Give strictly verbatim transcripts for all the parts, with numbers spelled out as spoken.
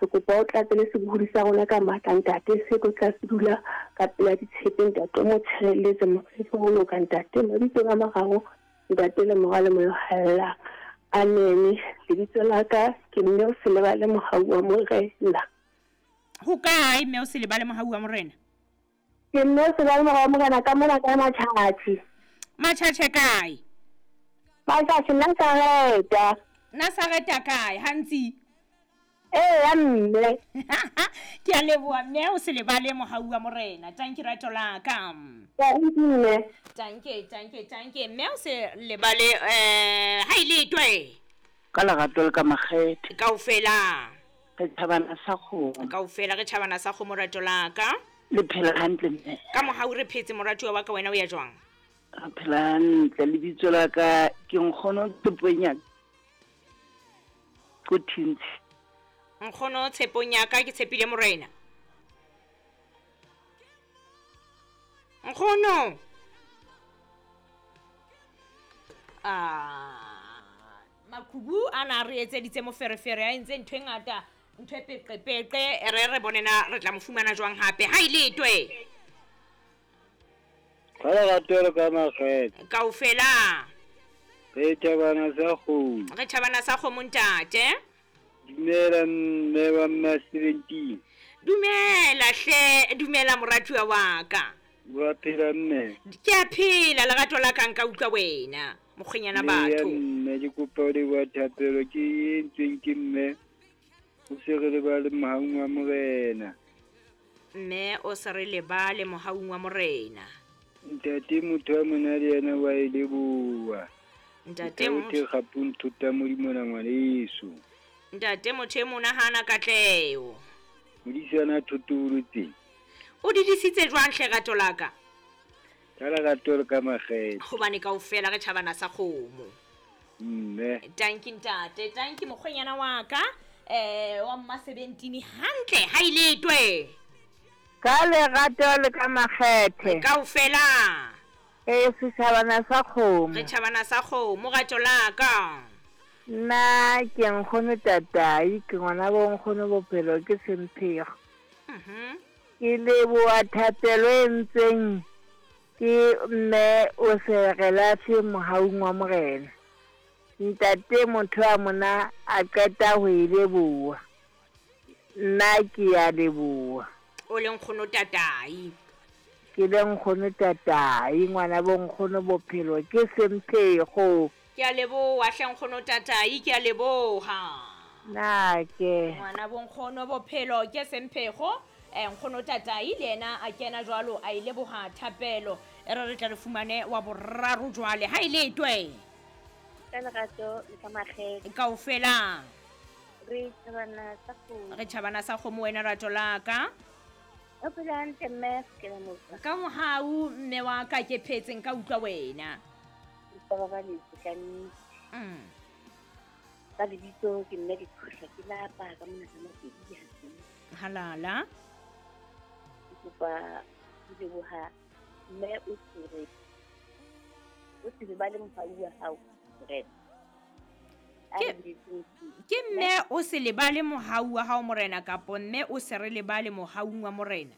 Re kopa o tlatse le sebohodi sa rona ka matla ntate, se tlo tla se dula ka pela ditshepe ntate, o mo tshireletse mo fe ho loka ntate, mabitsong a mararo ntate le Mora le Moya o Halalelang. Amen. Lebitso la ka ke mme o se lebale mohau wa Morena. Ho kae mme o se lebale mohau wa Morena? Ke mme o se lebale mohau wa Morena ka mona ka Matjhatjhe. Matjhatjhe kae? Matjhatjhe Nazareta. Nazareta kae hantsi? Ee mme. Ke a leboha mme o se lebale mohau wa Morena. Tanki rato la ka. Mme. Tanke tanke tanke mme o se lebale eh ha ile twe. Ka lerato le ka makgethe. Kaofela. Re tjhabana sa kgomo. Kaofela re tjhabana sa kgomo rato la ka. Le phela hantle mme. Ka mohau re phetse moratuwa wa ka, wena o ya jwang? Re phela hantle, lebitso la ka ke Nkgono Tshepong ya ko Thintshi. Nkgono Tshepong ya ka ke tshepile Morena. Nkgono. Ah, makhubu a na re etseditse moferefere a entse ntho e ngata, ntho e peqepeqe, re re bone na re tla mo fumana jwang hape. Ha ile twe. Ka lerato le ka makgethe. Kaofela. Re tjhabana sa kgomo. Re tjhabana sa kgomo ntate. Dumela mme wa mma seventeen. Dumela hle, dumela moratuwa wa ka. Wa phela mme? Ke a phela lerato la ka nka utlwa wena mokgwenyana batho. Mme ke kopa ho leboha thapelo ke e entsweng ke mme o se re lebale mohaung wa Morena. Mme o se re lebale mohaung wa Morena. Ntate motho wa mona le yena wa e leboha. Ntate motho gape o nthuta Modimo na ngwaneso. Ntate motho e mona hana katleho. Modisana thotolotse. O didisitse jwang hle rato la ka? Ka lerato le ka makgethe. Hobane kaofela re tjhabana sa kgomo. Mme. Tanki ntate, tanki mokgwenyana wa ka, eh wa mma seventeen hantle ha ile twe. Ka lerato le ka makgethe. Kaofela. Eh setjhabana sa kgomo. Re tjhabana sa kgomo rato la ka. Nna ke Nkgono Tatai, ke ngwana bo Nkgono Bophelo ke Semphego. Mhm. Ke leboha thapelo e entsweng ke mme o se re lahle mohaung wa Morena. Ntate motho wa mona a qeta ho e leboha. Nna ke a leboha. O le Nkgono Tatai. Ke le Nkgono Tatai, ngwana bo Nkgono Bophelo ke Semphego. Ke a leboha hle Nkgono Tatai, ke a leboha. Na ke ngwana bo Nkgono Bophelo ke Semphego. Eh Nkgono Tatai le yena a kena jwalo a ile boha thapelo e re re tla re fumane wa boraro jwale ha ile twe. Ka lerato le ka makgethe. Kaofela. Re tjhabana sa kgomo. Re tjhabana sa kgomo wena rato la ka. O phela hantle mme ke la motho. Ka mohau mme wa ka ke phetseng ka utlwa wena. Ke ba le ka nnete. Mm. Ka lebitso ke mme ke qhohla ke lapa ka mona ka mapedi ya. Halala. Kopa ho leboha mme o tsere o se lebale mohau wa hao Morena. Ke mme o se lebale mohau wa hao Morena kapo mme o se re lebale mohau wa Morena?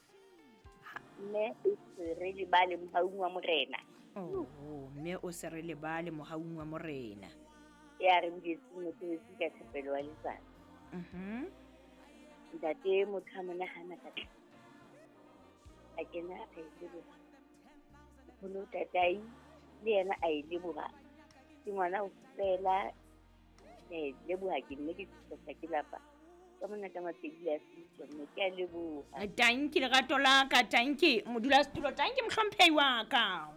Mme o se re lebale mohau wa Morena. Oh, mme o se re lebale mohau wa Morena. Ya re boletse mosebetsi ka thapelo wa letsatsi. Mhm. Ntate motho a mona hana ka a kena a e leboha. Nkgono Tatai le yena a e leboha. Ke ngwana o fela ke leboha ke mme ke tsosa ke lapa. Ka mona ka mapedi a sitso mme ke a leboha. Tanki lerato la ka, tanki modulasetulo, tanki mohlomphehi wa ka.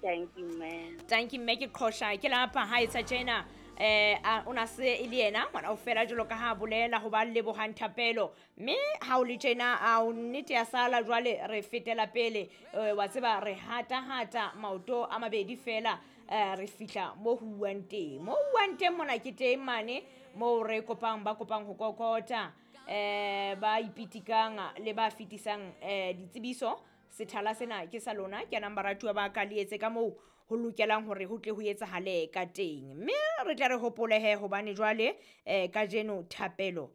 Tanki mme. Tanki mme ke qhosha ke lapa ha etsa tjena. Eh o na se e le yena ngwana o fela jwalo ka ha bolela ho ba lebohang thapelo mme ha o le tjena a o nnete ya sala jwale re fetela pele wa tseba re hata hata maoto a mabedi fela re fihla mo huwang teng mo huwang teng mona ke teng mane mo re kopang ba kopang ho kokota eh ba ipitikang le ba fetisang eh ditsebiso. Sethala sena ke sa lona ke nang baratuwa ba ka le etse ka moo ho lokelang hore ho tle ho etsahale ka teng mme re tla re hopole he hobane jwale eh kajeno thapelo